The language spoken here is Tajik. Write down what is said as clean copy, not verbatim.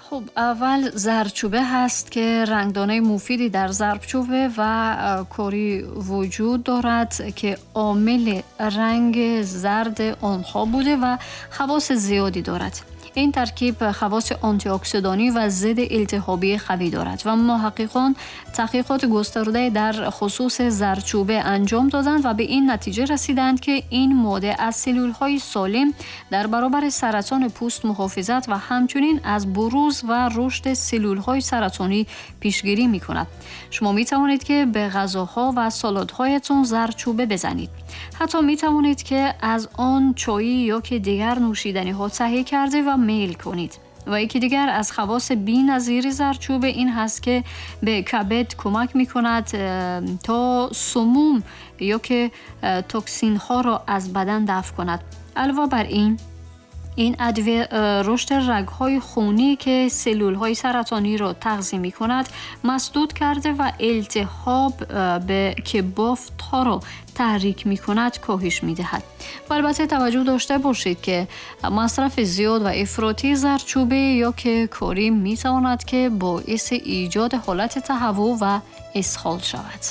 Хуб, аввал зардчӯба ҳаст, ки рангдонаи муфиде дар зардчӯба ва кори вуҷуд дорад, ки омили ранги зарди онҳо буда ва хавоси зиёде дорад. Ин таркиб хавоси антиоксидонӣ ва зидди илтиҳобии қавӣ дорад ва муҳаққиқон таҳқиқоти густурдае дар хусуси зардчӯба анҷом доданд ва ба ин натиҷа расиданд, ки ин модда аз силулҳои солим дар баробари саратони пӯст муҳофизат ва ҳамчунин аз буруз ва рушди силулҳои саратонӣ пешгирӣ мекунад. Шумо метавонед, ки ба ғазоҳо ва салатҳоятон зардчӯба бизанед. Ҳатто метавонед, ки аз он чойӣ ё ки дигар нӯшиданиҳо таҳия карда ва мейл кунед. Ва яке дигар аз хавоси беназири зардчӯба ин ҳаст, ки ба кабд кӯмак мекунад, то сумум ё ки токсинҳоро аз бадан дафъ кунад. Алова бар ин, ин адвия рушди рагҳои хунӣ, ки силулҳои саратониро тағзия мекунад, масдуд карда ва илтиҳоб, ки бофтҳоро таҳрик мекунад, коҳиш медиҳад. Ва албатта таваҷҷӯҳ дошта бошед, ки масрафи зиёд ва ифротии зардчӯба ё ки корӣ метавонад, ки боиси эҷоди ҳолати таҳаввуъ ва исҳол шавад.